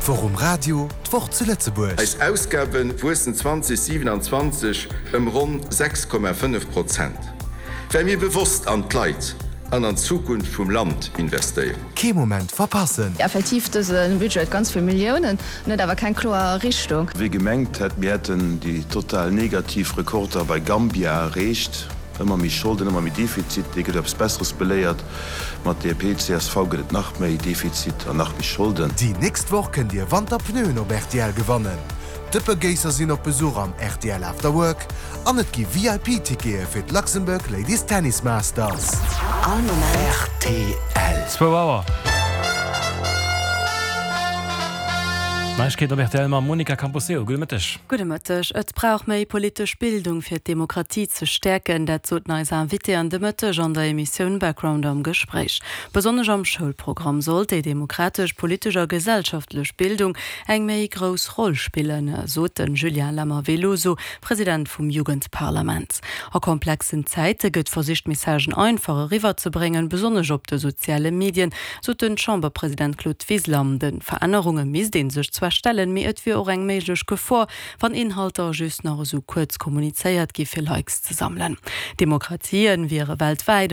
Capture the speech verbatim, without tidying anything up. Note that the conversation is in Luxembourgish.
D'Woch um Radio, d'Woch zu Lëtzebuerg. Eis Ausgabe wuessen zweedausendsiewenundzwanzeg ëm ronn sechs Komma fënnef Prozent, well mir bewosst an d'Leit an an d'Zukunft vum Land investéieren. Kee Moment verpassen. Effektiv, dëse Budget ganz vill Milliounen, net awer keng kloer Richtung. Wie gemengt hätt, mir hätten déi total negativ Rekorder bei Gambia erreecht, ëmmer méi Scholden, ëmmer méi Defizit, dee gëtt eppes Besseres beléiert. Mat D P C S V gëtt et nach méi Defizit an nach méi Scholden. Déi nächst Woch kënnt Dir Wanterpneuen op R T L gewannen. Dëppegéisser sinn op Besuch am R T L After Work an et gi V I P-Tickete fir d'Luxembourg Ladies Tennis Masters. All Moment. R T L. Zwou Auer. Neiegkeeten op R T L mam Monica Camposeo. Gudde Mëtteg. Gudde Mëtteg. Et brauch méi politesch Bildung fir d'Demokratie ze stäerken, dat sot eis Invité an de Mëtteg an der Emissioun Background am Gespréich. Besonnesch am Schoulprogramm sollt déi demokratesch, politesch a gesellschaftlech Bildung eng méi grouss Roll spillen, sot den Julien Lammer Veloso, President vum Jugendparlament. A komplexen Zäite gëtt versicht Messagen einfach eriwwerzebréngen, besonnesch op de soziale Medien, sot den Chamberpresident Claude Wiseler. De Verännerunge misst ee sech zwar stellen, mee et wier och eng méiglech Gefor, wann Inhalter just nach esou kuerz kommunizéiert gi fir Likes ze sammelen. Demokratien wiere weltwäit